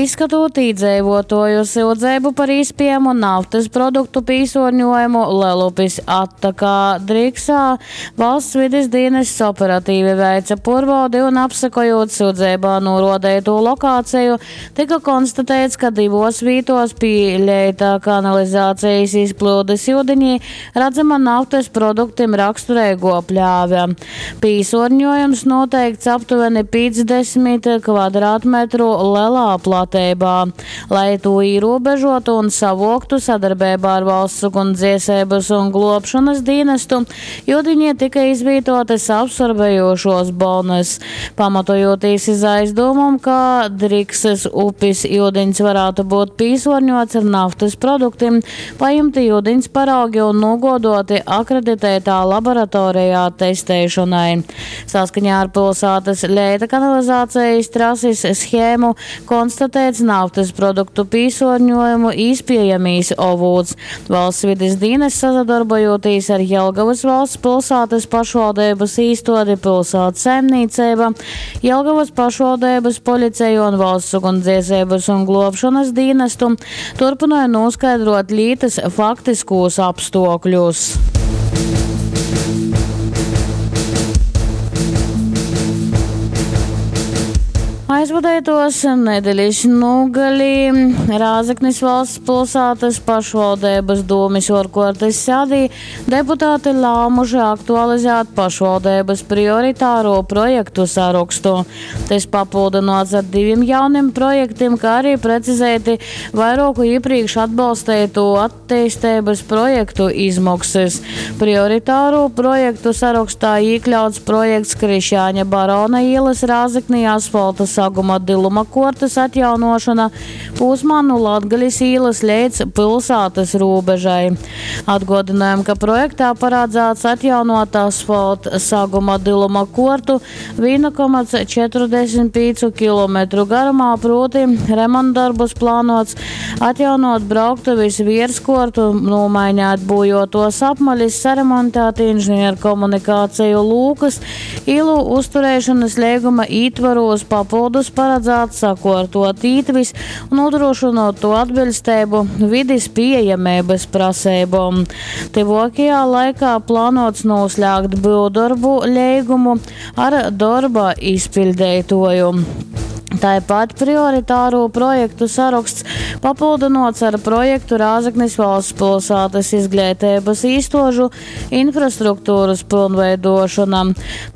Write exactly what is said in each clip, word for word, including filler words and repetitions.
Izskatūt īdzeivuotuoju syudzeibu par īspiejamu naftys produktu pīsuorņuojumu Lelupis attakā Driksā, Valsts vidis dīnests operatīvi veica puorbaudi un, apsekojūt syudzeibā nūruodeitū lokāceju, tyka konstateits, ka divuos vītuos pi leita kanalizācejis izplyudis iudinī radzama naftys produktim rakstureiguo pļāve. Pīsuorņuojums nūteikts aptuveni pīcdesmit kvadrātmetru lelā plateibā. Lai tū īrūbežuotu un savuoktu sadarbeibā ar Valsts ugunsdzieseibys un gluobšonys dīnestu, iudiņī tyka izvītuotys absorbejušuos bonys. Pamatojūtīs iz aizdūmom, ka Driksys upis iudiņs varātu būt pīsuorņuots ar naftys produktim, pajimti iudiņs paraugi un nūguoduoti akreditētā laboratorejā testeišonai. Saskaņā ar pilsātys leita kanalizācejis trasis shēmu konstatēts naftys produktu pīsuorņuojumu īspiejamīs ovūts. Valsts vidis dīnests, sasadorbojūtīs ar Jelgavas valsts pilsātys pašvaldeibys īstuodi Pilsātas saimniecība, Jelgavas pašvaldeibys policeju un Valsts ugunsdzieseibys un gluobšonys dīnestu, turpynoj noskaidrot lītys faktiskūs apstuokļus. Aizvadeituos nedelis nūgalī Rāzeknis valsts pilsātys pašvaldeibys dūmis uorkuortys sēdī deputāti lāmuši aktualizēt pašvaldeibys prioritārū projektu sarokstu. Tys papyldynuots ar divim jaunim projektim, kā arī precizēti vairuoku iepriekš atbalsteitu atteisteibys projektu izmoksys. Prioritārū projektu sarokstā iekļauts projekts Krišjāņa Barona ielas Rāzeknī asfalta saguma diluma kortas atjaunošana posmā no Latgalis ielas līdz pilsētas robežai. Atgādinājām, ka projektā paredzēts atjaunot asfalta saguma diluma kortu vienu komats četrdesmit piecu kilometru garumā, proti remontdarbus plānots atjaunot brauktuvis vierskortu, nomainīt būjotos apmalis, saremontēt inženierkomunikāciju lūkas, ielu uzturēšanas līguma ītvaros papildus paredzēts sakortot ītvis un nodrošinot to atbilstību vidis pieejamības prasībām. Tuvākajā laikā plānots noslēgt būvdarbu līgumu ar darba izpildītāju. Tāpat prioritāro projektu saraksts papildinots ar projektu Rāzeknis valsts pilsētas izglītības īstožu infrastruktūras pilnveidošana.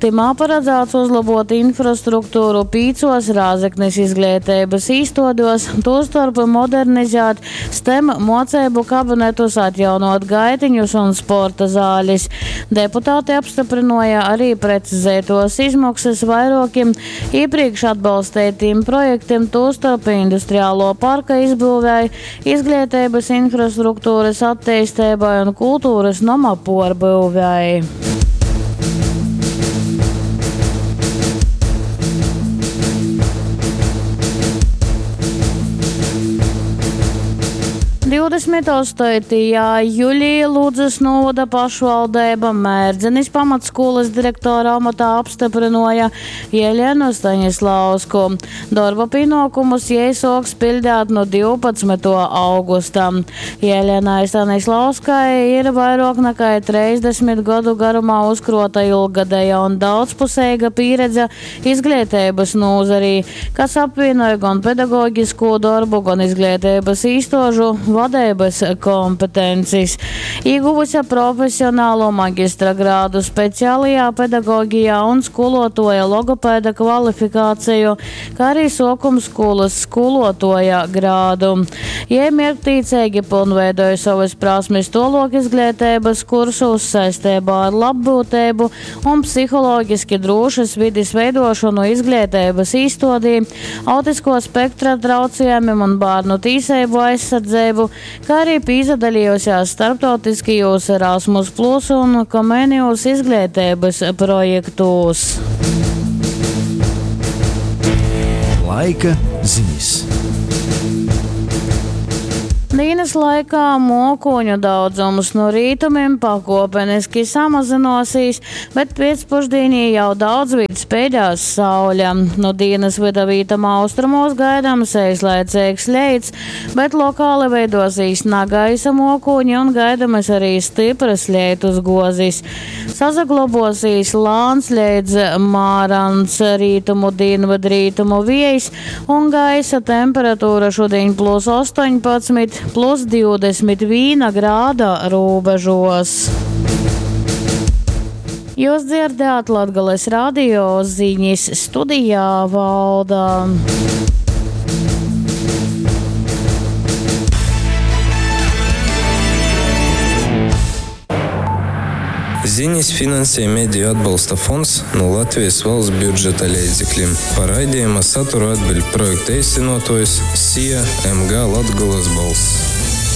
Timā paredzēts uzlabot infrastruktūru pīcos Rāzeknis izglītības īstodos, tostarp modernizēt STEM mocību kabinetus, atjaunot gaitiņus un sporta zāles. Deputāti apstiprināja arī precizētos izmaksas vairākiem iepriekš atbalstītiem projektiem, tostarp industriālo parka izbūvēi, izglītības infrastruktūras attīstībai un kultūras nama porbūvēi. Divdesmit astotajā jūlijā Ludzas novada pašvaldība Mērdzenis pamatskolas direktora amatā apstiprināja Jeļenu Staņislausku. Darba pienākumus jai sāks pildīt no divpadsmitā augusta. Jeļenai Staņislauskai ir vairāk nekā trīsdesmit gadu garumā uzkrota ilggadēja un daudzpusīga pieredze izglītības nozarī, kas apvienoja gan pedagoģisko darbu, gan izglītības īstožu vadības kompetences. Ieguvusi profesionālo maģistra grādu speciālajā pedagoģijā un skolotoja logopēda kvalifikāciju, kā arī sākumskolas skolotoja grādu. Jai mērķtiecīgi pilnveidoja savas prasmes tolok izglītības kursos saistībā ar labbūtību un psiholoģiski drošas vides veidošanu izglītības īstodī, autisko spektra traucējumiem un bērnu tīsību aizsardzību, kā arī piedalījusies starptautiskajos Erasmus Plus un Comenius izglītības projektos. Laika ziņas. Dīnys laikā muokūņu daudzums nu rītumim pakuopeniski samazynuosīs, bet piecpušdīnī jau daudzvīt speidēs saule. Nu dīnys vyda vītom austrumos gaidams eislaiceigs leits, bet lokāli veidosīs nagaisa muokūņi un gaidamas arī styprys leitusguozis. Sasaglobosīs lāns leidz mārans rītumu dīnvydrītumu viejs un gaisa temperatūra šudiņ plus astoņpadsmit, plus divdesmit vīna grāda rūbežos. Jūs dzirdējāt Latgales radio ziņas studijā Valda. Ziņas finansē Mediju atbalsta fonds no Latvijas valsts budžeta leidzekļiem. Par raidījuma saturu atbild projekta īstenotojs S I A M G Latgolas balss.